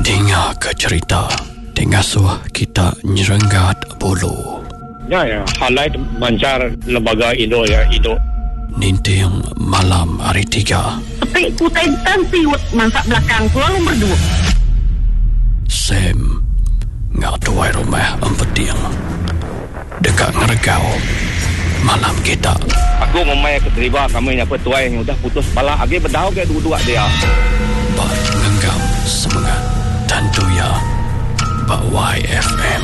Dinga ke cherita ti ngasuh kita nyerenggat bulu. Nya iya highlight manchar lembaga indu iya indu. Ninting malam hari tiga. Peti ku utai tan siut mansa belakang ku lalu merdu. Sam enggau tuai rumah Empeting deka ngeregau malam kita. Aku ngumbai ke deriba kami nya pun tuai nya udah putus pala agi bedau ga duduk dia. Ba ngenggam semengat tentu iya ba YFM.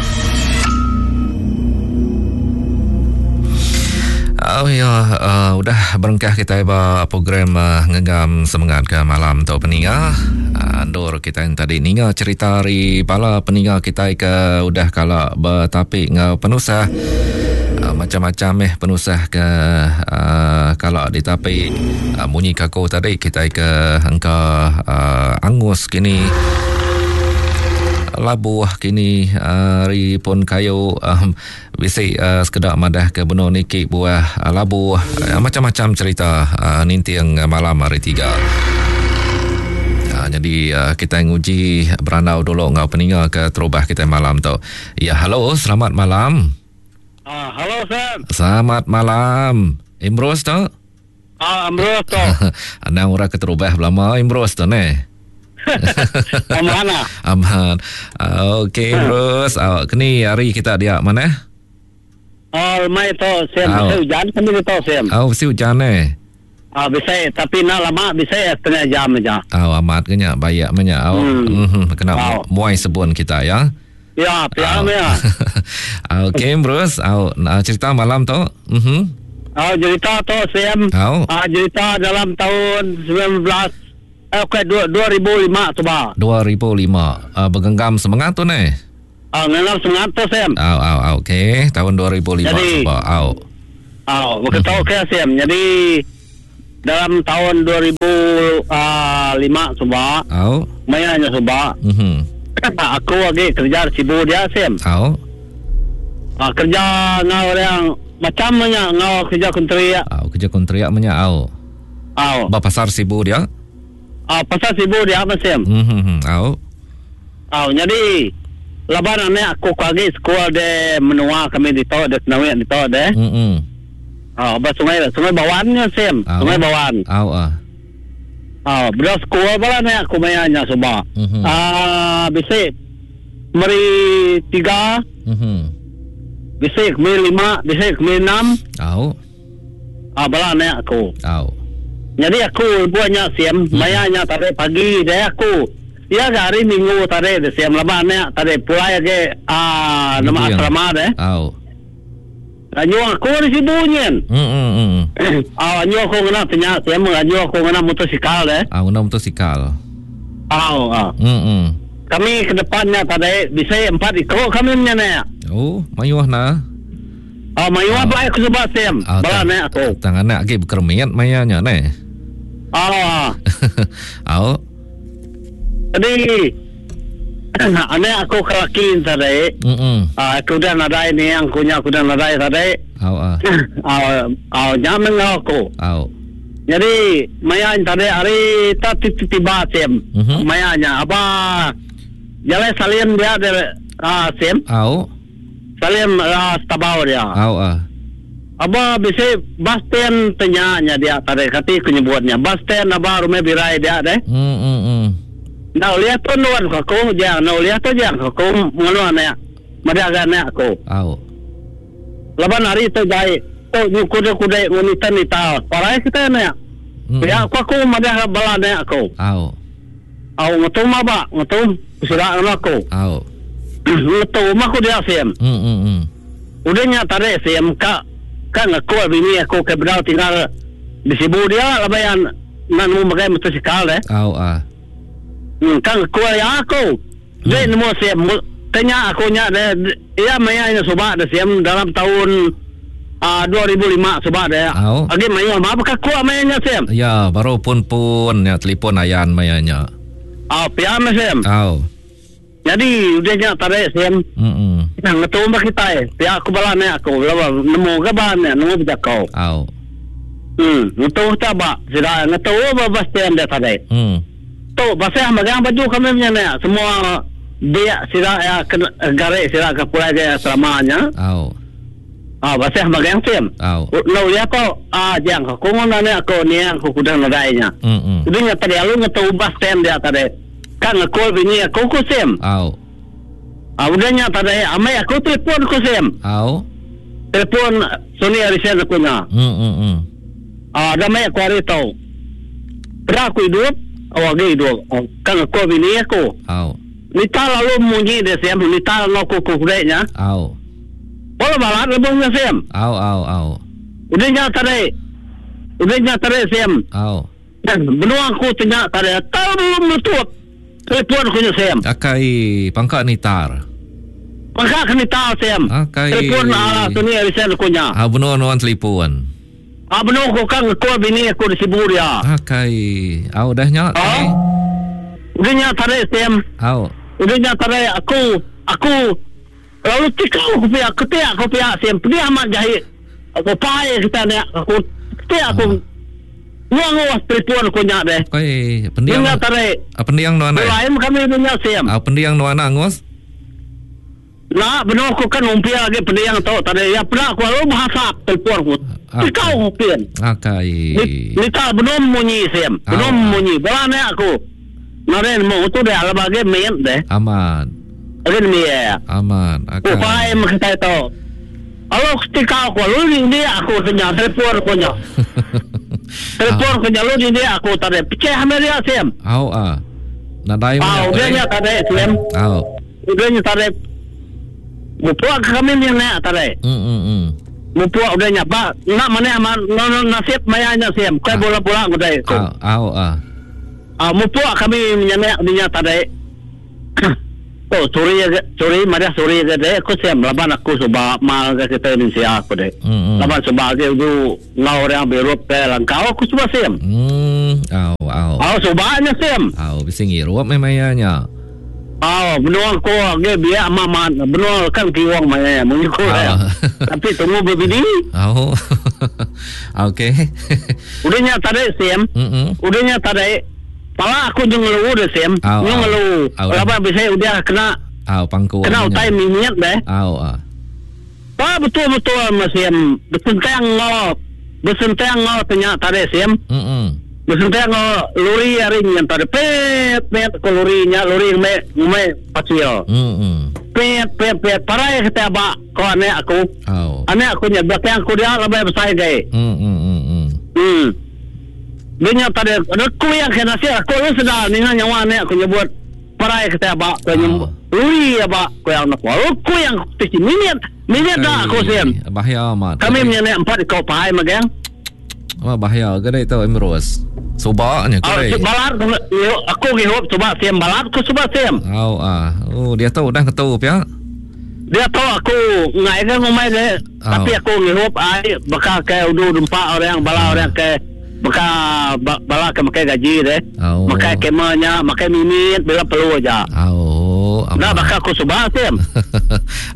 Oh ya, uh, udah berengkah kita ba program uh, ngenggam semengat ke malam tu peninga. Uh, endur kita yang tadi ninga cerita ari bala peninga kita ke udah kala betapi enggau penusah uh, macam-macam eh penusah ke uh, kala ditapi uh, munyi kaku tadi kita ke engka uh, angus kini labuh kini ari pun kayu um, bisi uh, sekeda madah ke benung niki buah uh, labuh uh, macam-macam cerita uh, ninting malam hari tiga. Uh, jadi uh, kita nguji berandau dulu enggau peninga ke terubah kita malam tu. Ya, halo, selamat malam. Uh, halo, Sam. Selamat malam. Imros tu? Ah, Ambrose tu. Anang orang keterubah belama Ambrose tu neh. Aman ah. Aman. Ah, okey Ambrose, ah, keni hari kita dia mana? Oh, mai tu Sam, bisi ujan kami tu Sam. Oh, bisi ujan eh. Ah, bisi tapi nak lama bisi setengah jam aja. Oh, amat ke nya bayak menya. Oh. Hmm. Mm-hmm. Kena oh. muai sebun kita ya. Ya, pia oh. ya. Okey, Bruce. Oh, cerita malam tu. Mhm. Oh, cerita tu Sam. Oh. Ah, cerita dalam tahun 19 eh okey 2005 tu ba. 2005. Uh, bergenggam semangat tu ne. Ah, genggam semangat tu Sam. Oh, oh, oh, okey. Tahun 2005 Jadi, sebab. Oh. Oh, begitu mm-hmm. okey Sam. Jadi dalam tahun 2005 suba. Oh. Maya nya suba. Mhm. Aku lagi kerja di Sibu dia Sam. Oh. Ah, kerja ngau orang macam nya ngau kerja kontrak. Oh, kerja kontrak menya au. Au. Ba pasar Sibu dia? Ah, pasar Sibu dia apa Sam? Mhm. Au. Au, jadi laban anak aku lagi sekolah de menua kami di to de Senawik di to de. Mhm. Ah, ba sungai Sungai Bawan nya Sam. Sungai Bawan. Au ah. Ah, bela sekolah bala anak aku maya nya suba. Mhm. Ah, bisi meri tiga. Mhm. Bisi meri lima, bisi meri enam. Au. Ah, bala anak aku. Au. Jadi aku buat nya siam, mm-hmm. maya nya tadi pagi deh aku. Ya hari minggu tadi deh siam lama anak tadi pulai lagi ah nama asrama deh. Au. Anyu aku di sibu nyin. Hmm hmm hmm. Ah anyu aku ngena tanya siam anyu aku ngena motosikal deh. Ah ngena motosikal. Au ah. Hmm hmm. Kami ke depannya tadi bisa empat ikut kami nya ne. Oh, mayuh na. Ah mayuh ah. aku sebab siam. Ah, Bala ne aku. Tang anak lagi berkermit maya nya ne. Ah. Au. Jadi anak aku ke laki tadi. Mm Ah aku dah nadai ni yang kunya aku dah nadai tadi. Au ah. Ah ah nyaman aku. Au. Jadi maya tadi hari tak tiba sim. Mm-hmm. Maya nya apa jalan salim dia dia ah sim. Au. Salim ah, tabau dia. Au ah. Aba bisi bus stand tanya nya dia tadi kati ku nyebutnya. Bus stand aba rumah birai dia deh. Hmm hmm hmm. Nah uliah tu nuan ku aku jang, nah uliah tu jang ku aku nganu anak. Madah ga anak aku. Au. Laban hari tu jai tu nyu kuda-kuda ngunita nita. Parai kita anak. Hmm. Ya aku aku madah bala anak aku. Au. Au ngetu ma ba, ngetu sida nganu aku. Au. Ngetu mah aku dia sim. Hmm hmm hmm. Udah nya tadi sim ka ka ngaku bini aku ke bedau tinggal di Sibu dia laban nak nemu magai motosikal deh. Au ah. Ka ngaku ya aku. Dia nemu sim tanya aku nya deh ya maya nya suba deh sim dalam tahun uh, 2005 suba deh. Au. Agi maya ma ka ku maya nya sim. Ya, baru pun-pun ya telefon ayan maya nya. Ah, pia mah sim. Au. Jadi udah nya tadi sim. Hmm. Nah, ngetu mah kita pia aku bala ne aku lawa nemu ke ba ne nemu bejakau. Au. Hmm, ngetu ta ba sida ngetu ba bus stand dia tadi. Hmm. Tu tu basah magang baju kami menyanak semua biak sida iya ke gari sida ke pulai ke asrama nya. Au. Ah basah magang sim. Au. Enda ulih aku ah jang aku ngun anak aku niang aku udah nadai nya. Mm. Udah nya tadi alu ngetu bus stand dia tadi. Ka ngekul bini aku ku sim. Au. Ah udah nya tadi amai aku telefon ku sim. Au. Telefon Sony Ericsson aku nya. Mm. Ah dah meh aku hari tu. Peda aku idup, oh agi idup. Ka ngekul bini aku. Au. Nita lalu munyi dia sim, nita enggau ku ku dek nya. Au. Bola balat lebuh nya sim. Au au au. Udah nya tadi. Udah nya tadi sim. Au. Benua aku ti nya tadi tau belum metup telefon aku nya sim. Akai pangka nitar. Pangka ke nitar sim. Akai. Telefon ala sini risen aku nya. Au benua nuan telefon. Au benung ku ka ngekul bini aku di Sibu dia. Akai. Au udah nya tadi. Udah nya tadi Sam. Au. Udah nya tadi aku aku lalu tikau ku pia ketik ku pia Sam pedih amat jahi aku pai kita nya aku ketik aku nguang nguas telefon aku nya deh. Akai pendiang. Nya tadi. Pendiang nuan ai. Lain kami nya Sam. Au pendiang nuan angus. Enda benung aku kan umpil agi pending tu tadi iya peda aku lalu behasap telefon aku. Tikau aku pin. Akai. Nita benung munyi sim. Benung munyi. Bala anak aku. Nadai nemu tu deh laban agi mit deh. Amat. Agi nembiak. Amat. Akai. Upai meh kitai tu. Lalu tikau aku lalu rindik aku tu nya telefon aku nya. Telefon aku nya lalu rindik aku tadi. Pecah meh dia sim. Au ah. Nadai meh. Au dia nya tadi sim. Au. Udah nya tadi mupuk ke kami nya nek tadi. Mm. Mupuk udah nya ba enda manah amat nasib maya nya sim kai bula-bula ngudai aku. Au ah. Ah mupuk kami nya nek nya tadi. Tu suri suri madah suri ke dek aku sim laban aku suba mal ke kita Indonesia aku dek. Laban suba agi udu enggau orang birup ke langkau aku suba sim. Mm au au. Au suba nya sim. Au bisi ngirup meh maya nya. Au, benua ko agi biak amat amat benua kan kiwong maya munyi ko ya. Tapi tunggu bebini. Au. Okey. Udah nya tadi sim. Mm Udah nya tadi pala aku nyung ngelu deh sim. Nyung ngelu. Laban bisi udah kena Au pangku. Kena utai mimit deh. Au ah. Pa betul betul meh sim besentang enggau besentang enggau tanya tadi sim. Mm Besentang enggau lori ari nyin tadi pit pit ko lori nya lori ngeme ngeme pasir. Mm Pit pit pit parai kita aba ko anak aku. Au. Anak aku nya belakang aku dia lebih besai gai. Mm mm mm. Mm. Dia nya tadi aku yang kena nasib aku lu sedar ninga nyawa anak aku nyebut parai kita aba ko nyebut. Lori aba ko yang nak. Aku yang tiki minit minit dah aku sim. Bahaya amat. Kami menyenek empat ekor pahai magang. Wah bahaya ke dek tu Emrus. Suba nya ke dek. Balat aku ngihup suba sim balat ku suba sim. Au ah. Oh dia tu udah ngetu pia. Dia tu aku ngai ke ngumbai dek. Tapi aku ngihup ai baka ke udu dempa orang bala orang ke baka bala ke makai gaji deh. Makai kema nya makai mimit bila perlu aja. Au. Enda baka aku suba sim.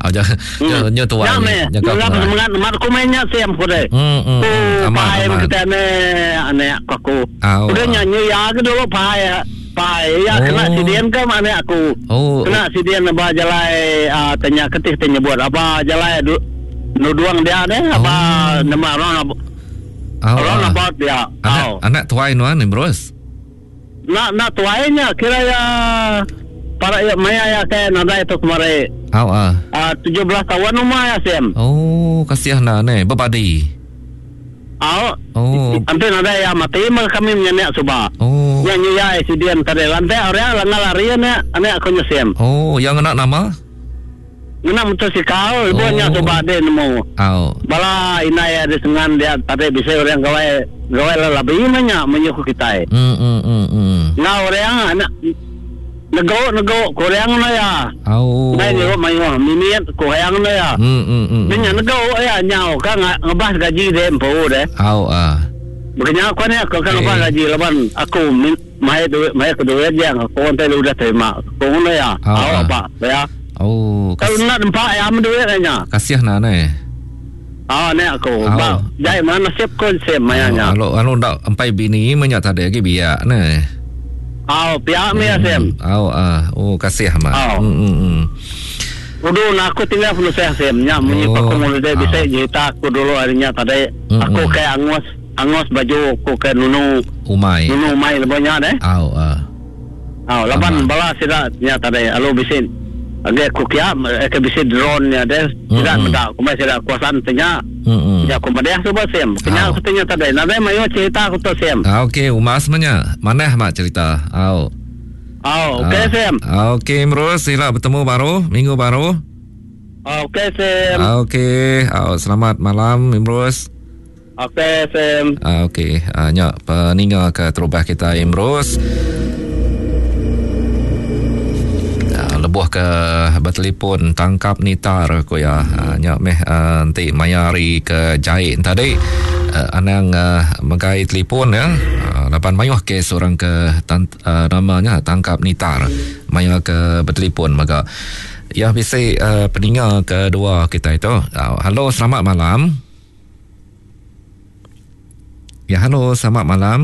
Au ja. Nya tuai. Nya meh. Nya semangat amat aku main nya sim ku deh. Hmm. Ku pai kita ne anak ku aku. Udah nya nya ya ke dulu pai. Pai ya kena siden ke anak aku. Kena siden ba jalai tanya ketih te nyebut apa jalai nuduang dia deh apa nama round round about dia. Anak anak tuai nuan ni bros. Nak nak tuai nya kira ya para ya maya ya ke nadai tu kemari. Au ah. 17 tahun umur ya sim. Oh, kasihan dah ne bebadi. Au. Oh. Enti nadai ya mati meh kami menyenek suba. Oh. Nya nyu ya accident tadi lantai orang langgar lari anak anak aku nya sim. Oh, yang ngena nama? Ngena motosikal lebuh nya suba deh nemu. Au. Bala indai iya di sengan dia tadi bisi orang gawai gawai lelabi meh nya menyuh kitai. Mm mm mm mm. Enggau orang anak nego nego ku orang enda iya. Au. Ndai ngirup mayuh mimit ku orang enda iya. Mm mm mm. Nya nego iya nyau ka ngebas gaji deh empu deh. Au ah. Baka nya ku anak aku ka ngebas gaji laban aku Mai duit mai ke duit jang aku enti udah terima ku ngono iya. Au Au ba ya. Oh. Kalau enda nempa iya meh duit nya. Kasih na ne. Au ne aku. Ba jai mana nasib ku sim maya nya. Alo alo enda empai bini meh nya tadi agi biak ne. Au, pia meh ya Sim. Au ah, oh kasih amat. Au. Hmm hmm. hmm. Udu na aku tinggal penusah Sim. Nya munyi Oh. oh. aku ngulih Au. bisi cerita aku dulu hari nya tadi. Mm, Aku mm. ke angus angus baju aku ke nunu Umai. nunu umai lebuh nya deh. Au ah. Au laban Amat. bala sida nya tadi alu bisi agi aku kia eh, ke bisi drone nya deh. Sida Mm, mm. meda kumbai sida kuasaan te nya. Hmm. hmm. Nya aku madah suba Sim. Kenya Au. aku tanya tadi nadai mayuh cerita aku tu Sim. Ah, okey, umas menya. Manah mak cerita. Au. Au, okey Ah. Sim. Ah, Okey, Imrus, sila bertemu baru minggu baru. Okey Sim. Ah, Okey, ah, selamat malam Imrus. Okey Sim. Ah, okey, ah, nya peninga ke terubah kita Imrus. Ah, lebuh ke bertelefon tangkap nitar ku ya. Ah, nya meh ah, enti maya hari ke jahit tadi ah, anang ah, megai telefon ya. Ah, laban mayuh kes orang ke tan, ah, namanya tangkap nitar maya ke bertelefon mega. Ya bisi uh, peninga kedua kita itu. Ah, halo selamat malam. Ya halo selamat malam.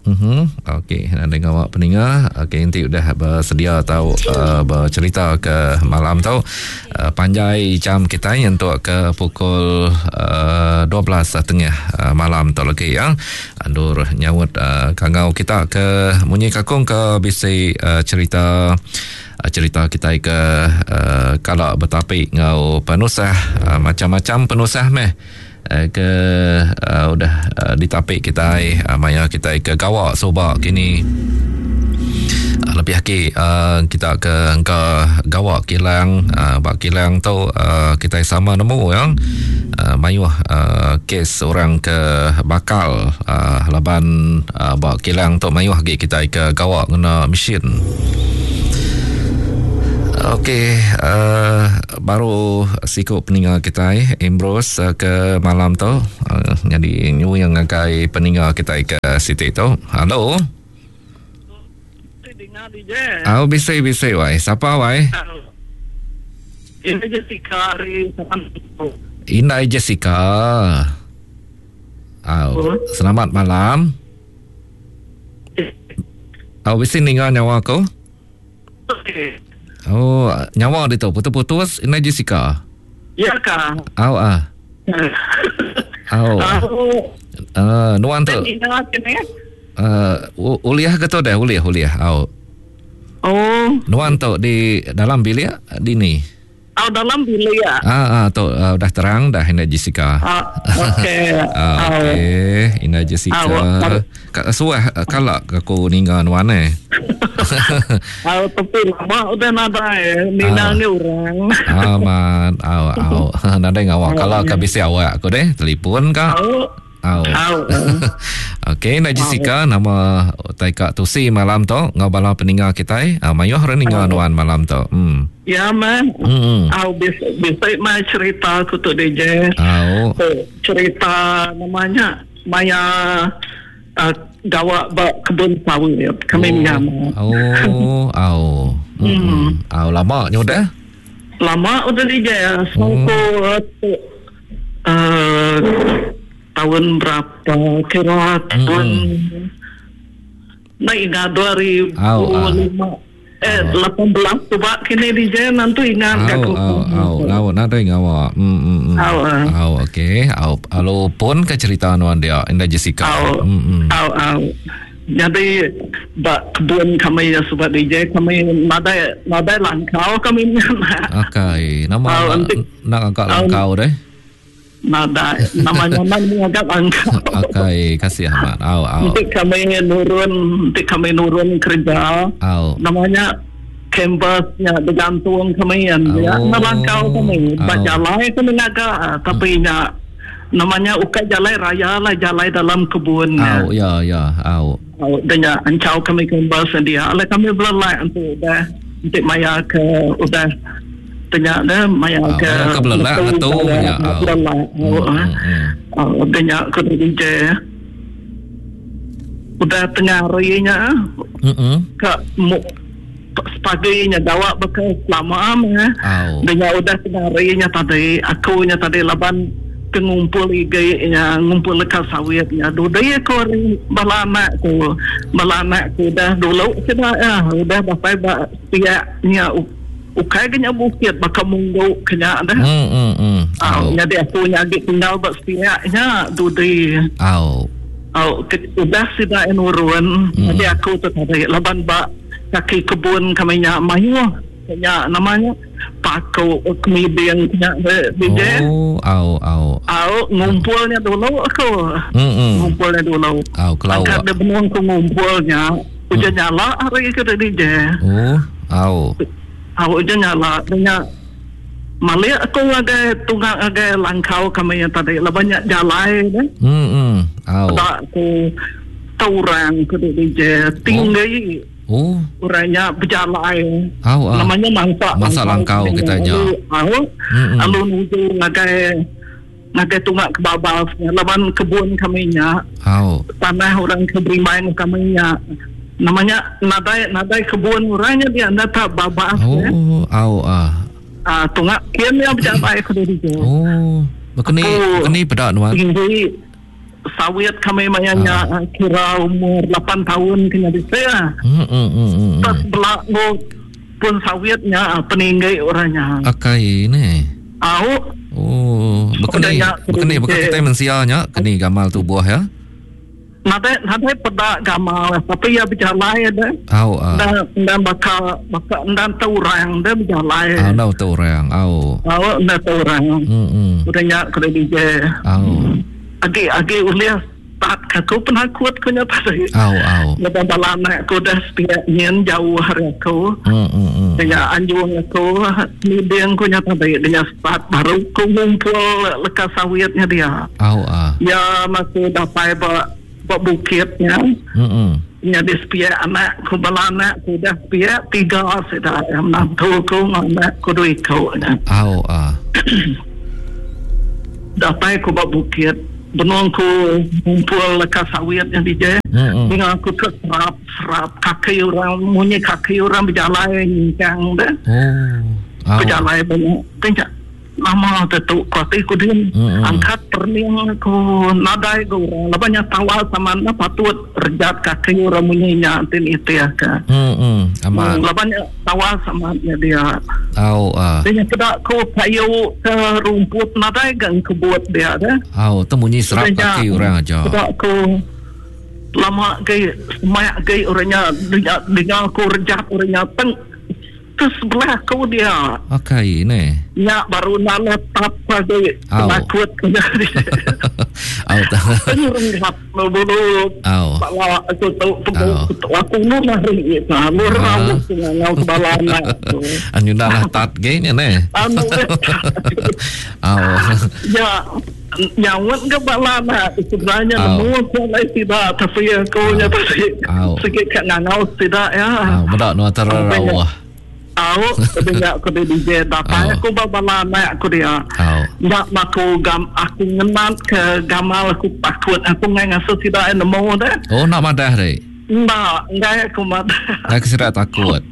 Mhm. Okey, nak dengar awak peninga. Okey, nanti udah bersedia atau uh, bercerita ke malam tu. Uh, panjai jam kita ni untuk ke pukul uh, 12.30 uh, malam tu lagi ya. Andur nyaut uh, kangau kita ke munyi kakung ke bisi uh, cerita uh, cerita kita ke uh, kalau bertapik ngau penusah uh, macam-macam penusah meh eh, ke uh, udah uh, ditapik kita uh, maya kita ke gawak soba kini uh, lebih lagi uh, kita ke engka gawak kilang uh, bak kilang tu uh, kita sama nemu ya uh, mayuh uh, kes orang ke bakal uh, laban uh, bak kilang tu mayuh lagi kita ke gawak ngena mesin. Okey, uh, baru siku peninga kita eh, Ambrose uh, ke malam tu. Uh, jadi nyu yang ngagai peninga kita ke situ tu. Halo. Dengar DJ. Au bisa bisa wai. Siapa wai? Ini Jessica hari Indai Jessica. Au, selamat malam. Au bisa ninga nyawa aku? Oh, nyawa dia tu putus-putus Indai Jessica. Ya kah? Au ah. Au. Au. Uh, nuan tu. Dengar kene. Uh, uliah ke tu dah? Uliah, uliah. Au. Oh, Nuan tu di dalam bilik di ni. au dalam bilik ya. Ah, ah tu uh, dah terang dah Ina Jessica. Ah, okey. Ah, Au. okey, Ina Jessica. Au. Ka suah kalak aku ninga nuan eh. Au tapi lama udah nadai Nina Ah. ni orang. Aman, au au. Nadai ngawak kalau ka bisi awak aku deh, telefon ka. Au. Au. Au. Okey, Ina Jessica nama taika tusi malam tu ngau bala peninga kita eh. Ah, mayuh orang ninga nuan malam tu. Hmm. Ya man. Hmm. Au bisa bisa mai cerita aku tu DJ. Au. Tu, cerita namanya Maya uh, gawak ba kebun sawit kami Oh. nyam. Oh, au. Hmm. Au lama nyudah. Lama udah DJ Oh. so tu uh, tahun berapa kira tahun Nah ingat 2005 Au, ah. eh 18 tu pak kini DJ nanti ingat Au, aku. au, au, au, nadai ngawa. Hmm, hmm, hmm. Au, ah. Au, okey. Au, alo pun ke cerita anuan dia, Indah Jessica. Au. Hmm, hmm. Au, au. Jadi bak kebun kami ya sebab DJ kami nadai nadai langkau kami nak Okey, nama Au, nak, nanti- nak agak Au. langkau deh. nadai namanya nak agak langkau. Okey, kasih Ahmad. Au, au. Nanti kami nurun, nanti kami nurun kerja. Au. Namanya kampusnya bergantung kami yang ya, Oh. nak langkau kami. Bak Au. jalai kami ngagak, tapi nya namanya ukai jalai raya lah jalai dalam kebun. Au, ya, ya, au. Oh, dan ya ancau kami kembali sendiri. Ala kami belai untuk udah untuk maya ke udah tanya dah maya Ah, ke maya ke belelak betul, tu, maya ya, ke ah. belelak. Oh, Hmm, ah. hmm, Oh, tanya ke DJ. Udah tengah harinya Hmm, hmm. ke mu sepaginya gawak bekas lama mah. Au. Dan ya udah tengah harinya tadi akunya tadi laban Ke ngumpul igi nya, ngumpul leka sawit nya. Dudi aku ari bala anak ku. Bala anak ku udah dulu sida iya udah datai ba sepiak nya ukai ga nya bukit baka munggu ke nya dah. Mm mm mm. Au nyadi aku nya agi tinggal ba sepiak nya dudi. Au. Au ke udah sida iya nurun nyadi aku tu tadi laban ba kaki kebun kami nya mayuh. Nya nama nya paku kemiding nya DJ. Oh, au au. Au ngumpul nya dulu aku. Mm -mm. Ngumpul nya dulu. Au kelau. Angkat dia benung ku ngumpul nya. Ujan mm. nyala hari ke DJ. Oh, au. Au ujan nyala nya malik aku ngagai tunga ngagai langkau kami yang tadi laban nya jalai deh. Hmm. Mm Au. Peda aku orang ke DJ tinggi. Oh. Oh. Orang nya bejalai. Au ah. Nama nya mansa mansa langkau kita nya. Au. Lalu nuju ngagai ngagai tunga ke babas laban kebun kami nya. Au. Tanah orang ke berimbai enggau kami nya. Nama nya nadai nadai kebun orang nya dia enda tak babas. Oh, ya. au ah. Ah tunga kin nya bejalai ke diri. Oh. Bekeni bekeni peda nuan. Tinggi. Sawit kami maya nya kira umur 8 taun ke nyadi sia. Pas bela enggau pun sawit nya peninggi orang nya. Akai ne. Au. Oh, bekeni bekeni baka kitai mensia nya keni gamal tubuh ya. Nadai nadai peda gamal tapi iya bejalai deh. Au. Enda enda baka baka enda tau orang deh bejalai. Au enda tau orang. Au. Au enda tau orang. Hmm. Udah nya kena DJ. Au. Agi agi ulih start ka aku penakut ku nya tadi. Au au. Laban bala anak aku udah sepiak nyin jauh ari aku. Hmm hmm hmm. Nya anjung aku niding ku nya tadi nya start baru ku ngumpul leka sawit nya dia. Au ah. Ya masih datai ba ba bukit nya. Hmm hmm. Nya di sepiak anak ku bala anak ku udah sepiak tiga sida menantu ku enggau anak ku dua iku nya. Au ah. Datai ku ba bukit, benung ku ngumpul leka sawit nya DJ. Ninga aku ke serap serap kaki orang munyi kaki orang bejalai nyingkang deh. Bejalai ba nya. Ti nya nama te tu ku ati ku din. Angkat perening aku nadai ga orang laban nya tawar sama enda patut rejat kaki orang munyi nya ti nitih ka. Laban nya Tawas amat nya dia. Au ah. Dia nya peda ku kayu ke rumput nadai ga engkebut dia deh. Au tu munyi serap kaki orang aja. Peda ku lama agi semak agi orang nya dinga ku rejat orang nya teng ke sebelah aku dia. Akai neh. Nya baru nala tap agi penakut ke nya. Au ta. Renggap Bulu bala aku tu tu aku lu lari ta lu rau ngau ke bala anak tu. Anu dah lah tat ge nya neh. Anu. Au. Ya nyaut ke bala anak sebenarnya nemu aku alai sida tapi aku nya tadi sigi ka ngangau sida ya. Au meda nuan terarauh. Au, udah nya aku di DJ datai aku ba bala anak aku dia. Enda aku gam aku ngenat ke gamal aku takut aku enggai ngasuh sida ai nemu deh. Oh enda madah deh. Enda, enggai aku madah. Enggai ke sida takut.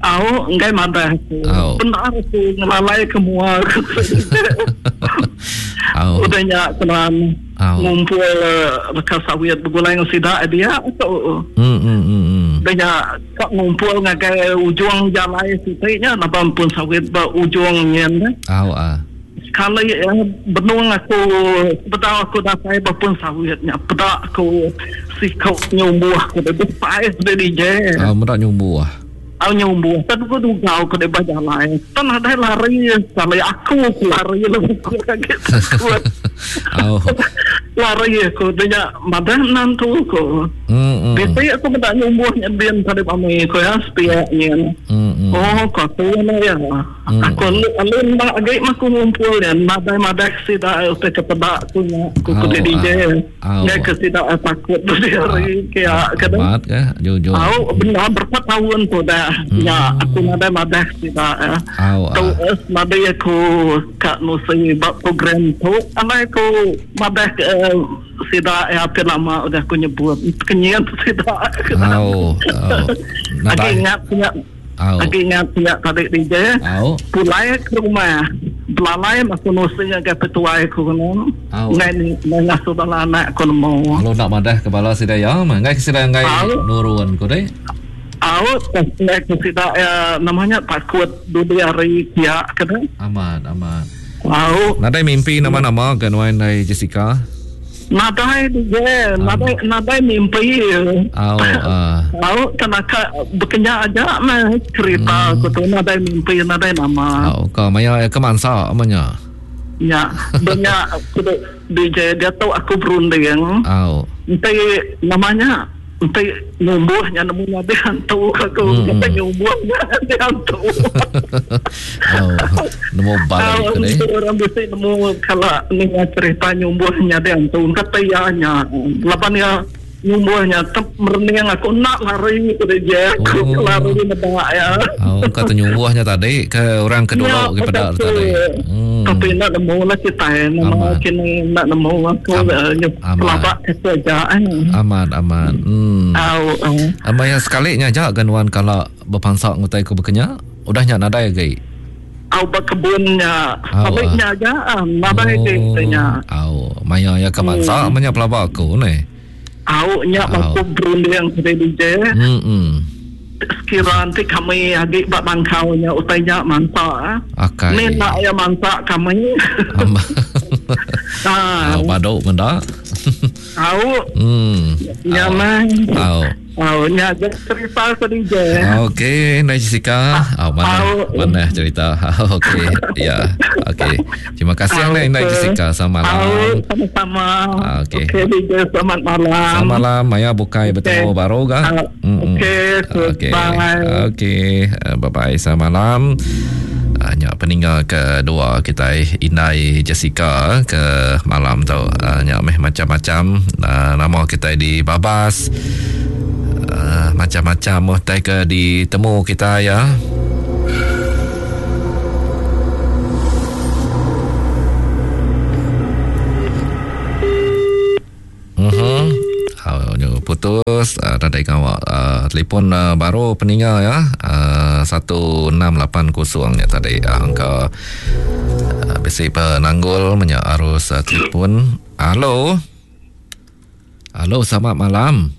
Au, enggai madah aku. Bendar aku ngelalai ke mua aku. Au. Udah nya kenan ngumpul leka sawit begulai enggau sida dia tu. Hmm hmm hmm. Udah nya Ka ngumpul ngagai ujung jalai siti nya laban pun sawit ba ujung nyin deh. Au ah. Sekali iya benung aku sebedau aku datai ba pun sawit nya peda aku siku nyumbuh ku deh besai deh DJ. Au meda nyumbuh. Au nyumbuh tan ku dugau ku deh ba jalai. Tan nadai lari sekali aku ku lari lalu aku agi takut. Au. Lari aku deh nya madah menantu ku. Mm-mm. Bisi aku meda nyumbuh nya bin tadi mami ku ya sepiak nyin. Mm-mm. Oh ku aku nya ya. Mm. Aku alu alu enda agi mah aku ngumpul nya nadai madah ke sida utai ke peda ku nya ku ku Au, DJ. au. Ngai ke sida takut dudi hari ke ya ke dah. Amat ke jujur. Au bendar berapa tahun tu dah nya aku nadai madah ke sida ya. Au Tu ah. es madi aku ka nusi ba program tu alai aku madah ke Sida iya apin lama udah aku nyebut kenyit sida. Au. Au. Agi ingat nya. Au. Agi ingat nya tadi DJ. Au. Pulai ke rumah. Pelalai aku nusi ngagai petuai ku kena. Ngai ngasuh bala anak ku nemu. Lalu enda madah ke bala sida iya meh. Enggai ke sida enggai nurun ku deh. Au, enggai ke sida iya nama nya takut dudi hari pia ke deh. Amat, amat. Au. Nadai mimpi nama-nama ke nuan indai Jessica? Nadai DJ, nadai nadai mimpi. Au ah. Au kenaka bekenya aja meh cerita aku tu nadai mimpi nadai nama. Au ka maya ke mansa meh nya. Nya benya aku tu DJ diatu aku berunding. Au. Enti nama nya enti nyumbuh nya nemu nyadi hantu aku enti nyumbuh nya nyadi hantu. Au, nemu balik ke deh. Orang bisi nemu kala ninga cerita nyumbuh nyadi antu kata iya nya. Laban iya nyumbuh nya tep merening aku enda lari ku deh je. Aku oh. lari meda iya. Oh, kata nyumbuh nya tadi ke orang ke dulu ke peda tadi. Hmm. Tapi enda nemu lah kitai nama kini enda nemu aku pelaba ke aja. Amat amat. Hmm. Au. Amai sekali nya aja ga nuan kala bepansa ngutai ku bekenya. Udah nya nadai agi. Au ba kebun nya. Au nya aja nadai agi oh, nya. Au maya ya ke mansa hmm. menya pelaba aku neh. Au nya aku berunding tadi DJ. Hmm. Sekira nanti kami agi ba bangkau nya utai nya mansa. Akai. Ni nak ya mansa kami. Ah. Au badu menda. Au. Hmm. Nya mah. Au. Au nya je cerita ke DJ. Okey, Nai Jessica. Au mana mana cerita. Okey. Ya. Okey. Terima kasih Nai Nai Jessica. Selamat malam. Au sama-sama. Okey. Okey DJ selamat malam. Selamat malam. Maya bukai bertemu baru ga. Okey. Okey. Okey. Bye bye. Selamat malam. Nya peninga kedua kitai Indai Jessica ke malam tu. Nya meh macam-macam nama kitai di babas. Macam-macam utai ke ditemu kitai ya. Mhm. Uh, putus uh, nadai ngawa uh, telefon uh, baru peninga ya uh, 1680 nya tadi uh, angka uh, bisi penanggul menya arus uh, telefon. Halo. Halo, selamat malam.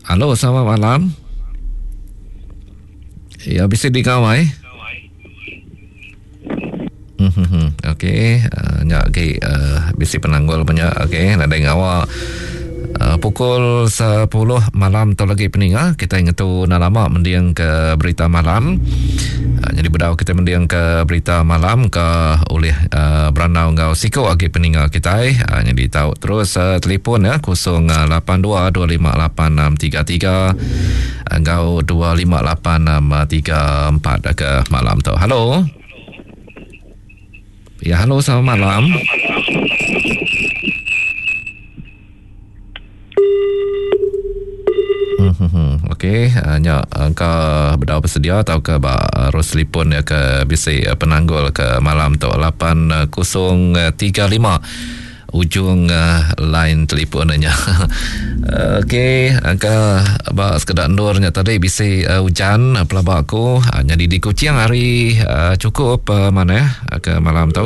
Halo, selamat malam. Ya, bisi di kawai. Mhm. Okey, uh, nya agi uh, bisi penanggul banyak. Okey, nadai ngawa. Uh, pukul 10 malam tu lagi peninga kita ngetu enda lama mending ke berita malam. Uh, jadi bedau kita mending ke berita malam ke oleh uh, berandau enggau siku agi peninga kitai. Uh, jadi tau terus uh, telefon ya 082 258 633 enggau 258 634 ke malam tu. Halo. Ya, halo selamat malam. Hmm, okey, uh, nya engka bedau bersedia atau ke ba arus telefon ya ke bisi penanggul ke malam tu 8035 ujung uh, line telefon nya. Okey, angka ba sekeda endur nya tadi bisi uh, ujan pelaba aku uh, nyadi di Kuching hari uh, cukup uh, manah ke malam tu.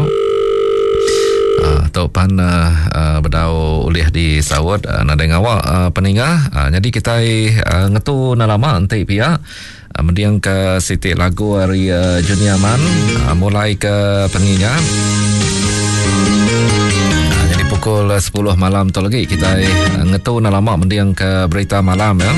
Uh, tu pan uh, uh, bedau ulih disaut uh, nadai ngawa uh, peninga uh, jadi kitai uh, ngetu enda lama enti pia uh, mending ke siti lagu ari uh, Junior Man uh, mulai ke pengingat uh, jadi pukul 10 malam tu lagi kitai uh, ngetu enda lama mending ke berita malam ya.